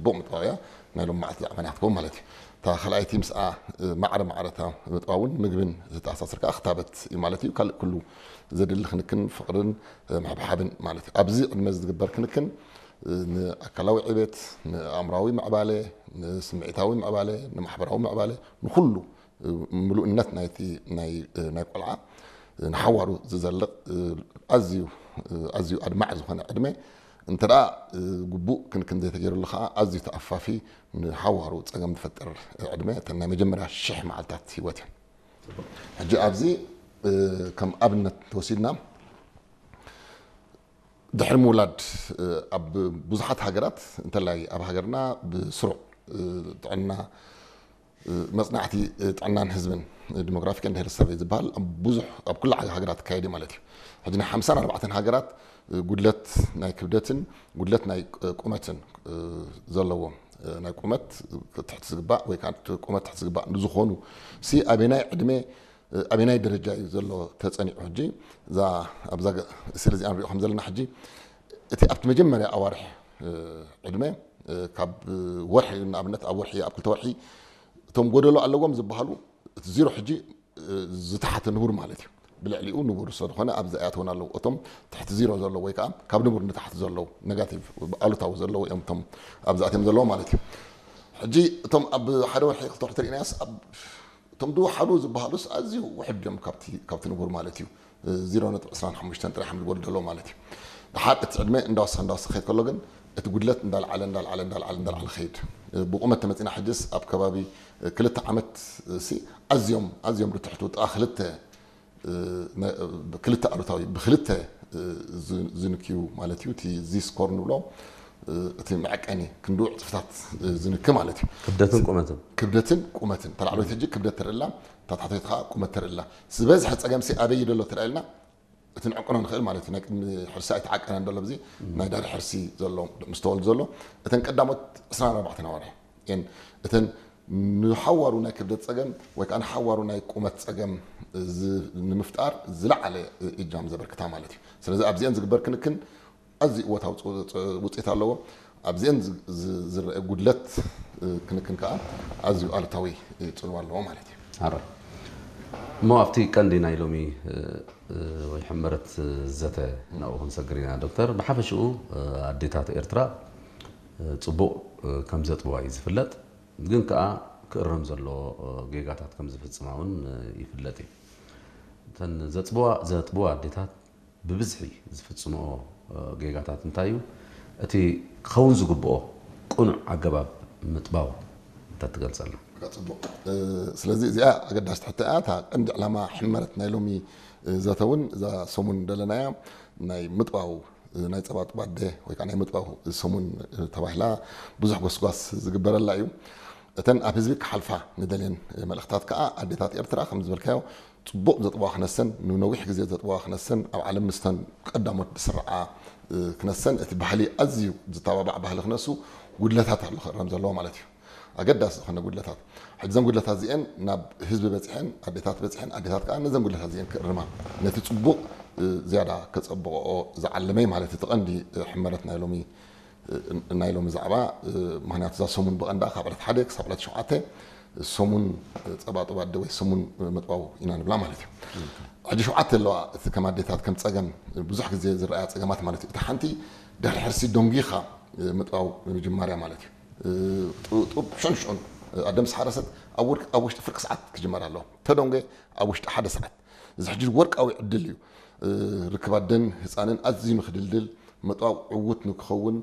ጽቡቕ ምጥባው እያ። ናይ ሎም መዓልቲ ዛዕባና ክትከውን ማለት እዩ። እታ ካልኣይቲ ምስኣ ማዕረ ማዕረታ ምጥባውን ምግብን ዝተኣሳሰር ከዓ ክታበት እዩ ማለት እዩ። ካልእ ኩሉ ዘድሊ ክንክን ፍቕርን ምሕብሓብን ማለት እዩ። ኣብዚ ዕድመ ዝግበር ክንክን ንኣካላዊ ዕቤት፣ ንኣእምራዊ ምዕባለ፣ ንስምዒታዊ ምዕባለ፣ ንማሕበራዊ ምዕባለ፣ ንኩሉ ምሉእነት ናይቲ ናይ ናይ ቆልዓ ንሓዋሩ ዝዘልቕ ኣዝዩ ኣዝዩ ኣድማዕ ዝኾነ ዕድመ እንተ ደኣ ግቡእ ክንክን ዘይተገይሩሉ ከዓ ኣዝዩ ተኣፋፊ ንሓዋሩ ጸገም ዝፈጥር ዕድመ እተን ናይ መጀመርያ ሽሕ መዓልታት ህይወት እየን። ሕጂ ኣብዚ ከም ኣብነት ተወሲድና ድሕሪ ምውላድ ኣብ ብዙሓት ሃገራት እንተላይ ኣብ ሃገርና ብስሩዕ ጥዕና መጽናዕቲ ጥዕናን ህዝብን ዲሞግራፊክ ኤንድ ሄልት ሰርቬይ ዝበሃል ኣብ ብዙሕ ኣብ ኩላ ሃገራት ይካየድ እዩ ማለት እዩ። ሕጂ ናይ ሓምሳን ኣርባዕተን ሃገራት ጉድለት ናይ ክብደትን ጉድለት ናይ ቁመትን ዘለዎም ናይ ቁመት ትሕቲ ዝግባእ ወይ ከዓ ቁመት ትሕቲ ዝግባእ ንዝኾኑ ሲ ኣበናይ ዕድመ ኣበናይ ደረጃ እዩ ዘሎ ተጸኒዑ ሕጂ እዛ ኣብዛ ስእሊ እዚኣ ንሪኦ ከም ዘለና ሕጂ እቲ ኣብቲ መጀመርያ ኣዋርሕ ዕድመ ካብ ወርሒ ንኣብነት ኣብ ወርሒ ኣብ ክልተ ወርሒ እቶም ጎደሎ ኣለዎም ዝበሃሉ እቲ ዜሮ ሕጂ ዝተሓተ ንቡር ማለት እዩ። ብልዕሊኡ ንቡር ስለዝኾነ ኣብዚ ኣይኣተውን ኣለዉ። እቶም ትሕቲ ዜሮ ዘለዉ ወይ ከዓ ካብ ንቡር ንታሕቲ ዘለዉ ኔጋቲቭ ኣሉታዊ ዘለዉ እዮም እቶም ኣብዚ ኣትዮም ዘለዉ ማለት እዩ። ሕጂ እቶም ኣብ ሓደ ወርሒ ክልተ ወርሒ ተሪእናዮስ ኣብ እቶም ዝወሓዱ ዝበሃሉስ ኣዝዩ ውሕድ እዮም ካብቲ ካብቲ ንቡር ማለት እዩ። ዜሮ ነጥቢ ዕስራን ሓሙሽተን ጥራሕ እዮም ዝበሉ ዘለዉ ማለት እዩ። ድሓር እቲ ዕድመ እንዳወሰኸ እንዳወሰኸ ከይድ ከሎ ግን እቲ ጉድለት እንዳልዓለ እንዳልዓለ እንዳልዓለ እንዳልዓለ ከይድ ብቁመት ተመፂና ሕጅስ ኣብ ከባቢ ክልተ ዓመት ሲ ኣዝዮም ኣዝዮም ርትሕቱ ጥቓ ክልተ ክልተ ኣሉታዊ ብክልተ ዝንክዩ ማለት እዩ። እቲ ዚ ስኮር ንብሎ እቲ መዐቀኒ ክንድኡ ዕፅፍታት ዝንክ ማለት እዩ። ክብደትን ቁመትን ክብደትን ቁመትን ተላዕሎት ሕጂ ክብደት ተርእላ ታታቶት ከዓ ቁመት ተርእላ ዝበዝሐ ፀገምሲ ኣበይ ደሎ ተላኢልና እቲ ንዕቅኖ ንኽእል ማለት እዩ። ናይ ቅድሚ ሕርሲ ኣይተዓቀነን ደሎ ብዚ ናይ ዳሪ ሕርሲ ዘሎ ምስ ተወልዱ ዘሎ እተን ቀዳሞት ዕስራን ኣርባዕተን ኣዋርሕ እየን እተን ንሓዋሩ ናይ ክብደት ፀገም ወይ ከዓ ንሓዋሩ ናይ ቁመት ፀገም ንምፍጣር ዝለዓለ እጃም ዘበርክታ ማለት እዩ። ስለዚ ኣብዚአን ዝግበር ክንክን ኣዝዩ እወታዊ ውፅኢት ኣለዎ። ኣብዚአን ዝረአ ጉድለት ክንክን ከዓ ኣዝዩ ኣሉታዊ ፅልዋ ኣለዎ ማለት እዩ። ኣረ እሞ ኣብቲ ቀንዲ ናይ ሎሚ ወይ ሕመረት ዘተ ናብኡ ክንሰግር ኢና ዶክተር። ብሓፈሽኡ ኣዴታት ኤርትራ ፅቡቕ ከም ዘጥብዋ እዩ ዝፍለጥ። ግን ከዓ ክእረም ዘለዎ ጌጋታት ከም ዝፍፅማ እውን ይፍለጥ እዩ። እተን ዘጥብዋ ኣዴታት ብብዝሒ ዝፍፅምኦ ጌጋታት እንታይ እዩ? እቲ ክኸውን ዝግብኦ ቅኑዕ ኣገባብ ምጥባው እንተትገልፀልና። ፅቡቕ። ስለዚ እዚኣ ኣገዳሲ ትሕቶ እያ። እታ ቀንዲ ዕላማ ሕመረት ናይ ሎሚ ዘተ እውን እዛ ሰሙን ደለናያ ናይ ምጥባው ናይ ፀባጥባ ኣደ ወይ ከዓ ናይ ምጥባው ሰሙን ተባሂላ ብዙሕ ጎስጓስ ዝግበረላ እዩ። እተን ኣብ ህዝቢ ክሓልፋ ንደልየን መልእኽታት ከዓ ኣዴታት ኤርትራ ከም ዝበልካዮ ፅቡቕ ዘጥበዋ ክነሰን ንነዊሕ ግዜ ዘጥበዋ ክነሰን ኣብ ዓለም ምስተን ቀዳሞት ዝስርዓ ክነሰን እቲ ባህሊ ኣዝዩ ዝተባባዕ ባህሊ ክነሱ ጉድለታት ኣሎ ክእረም ዘለዎ ማለት እዩ። ኣገዳሲ ዝኾነ ጉድለታት ሕጂ ዘን ጉድለታት እዚአን ናብ ህዝቢ በፂሐን ኣዴታት በፂሐን ኣዴታት ከዓ ነዘን ጉድለታት እዚአን ክእርማ ነቲ ፅቡቕ ዝያዳ ከፀብቕኦ ዝዓለመ ማለት እቲ ቀንዲ ሕመረት ናይ ሎሚ ናይ ሎሚ ዛዕባ ምክንያቱ እዛ ሰሙን ብቐንዳ ካብ ዕለት ሓደ ክሳብ ዕለት ሸውዓተ ሰሙን ፀባጥባ ኣደ ወይ ሰሙን ምጥባው ኢና ንብላ ማለት እዩ። ሕጂ ሸውዓተ ኣለዋ እቲ ከም ኣዴታት ከም ፀገም ብዙሕ ግዜ ዝረኣያ ፀገማት ማለት እዩ። እቲ ሓንቲ ድሕሪ ሕርሲ ደንጊኻ ምጥባው ምጅማርያ ማለት እዩ። ጡብ ሸንሽዑን ኣደ ምስ ሓረሰት ኣብ ውሽጢ ፍርቂ ሰዓት ክጅመር ኣለዎ። ተደንጎ ኣብ ውሽጢ ሓደ ሰዓት እዚ ሕጂ ወርቃዊ ዕድል እዩ። ርክብ ኣደን ህፃንን ኣዝዩ ንክድልድል መጥባው ዕውት ንክኸውን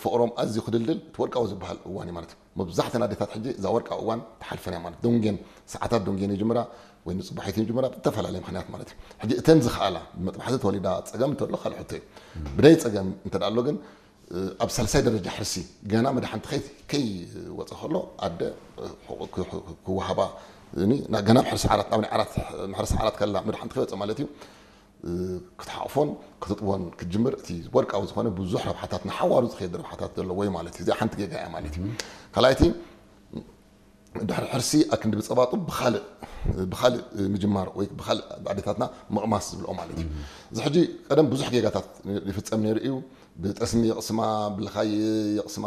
ፍቕሮም ኣዝዩ ክድልድል እቲ ወርቃዊ ዝበሃል እዋን እዩ ማለት እዩ። መብዛሕተን ኣዴታት ሕጂ እዛ ወርቃዊ እዋን ተሓልፈን እያ ማለት ደንጌን ሰዓታት ደንጌን ይጅምራ ወይ ንፅባሒት ይጅምራ ብተፈላለየ ምክንያት ማለት እዩ። ሕጂ እተን ዝኸኣላ ብመጥባሕቲ ተወሊዳ ፀገም እንተሎ ካልእ ሕቶ እዩ። ብደይ ፀገም እንተ ኣሎ ግን ኣብ ሳልሳይ ደረጃ ሕርሲ ገና መድሓንቲ ከይወፀ ከሎ ኣደ ክወሃባ ገና ሕርሲ ዓራት ኣብ ናይ ዓራት ሕርሲ ዓራት ከላ መድሓንቲ ከይወፀ ማለት እዩ። ክትሓቕፎን ክትጥቦን ክትጅምር እቲ ወርቃዊ ዝኾነ ብዙሕ ረብሓታት ንሓዋሩ ዝኸየድ ረብሓታት ዘለዎ እዩ ማለት እዩ። እዚኣ ሓንቲ ጌጋ እያ ማለት እዩ። ካልኣይቲ ድሕሪ ሕርሲ ኣክንዲ ብፀባጡ ብኻልእ ብኻልእ ምጅማር ወይ ብኻልእ ኣዴታትና ምቕማስ ዝብልኦ ማለት እዩ። እዚ ሕጂ ቀደም ብዙሕ ጌጋታት ይፍፀም ነይሩ እዩ። ብጠስሚ የቕስማ ብልኻይ የቕስማ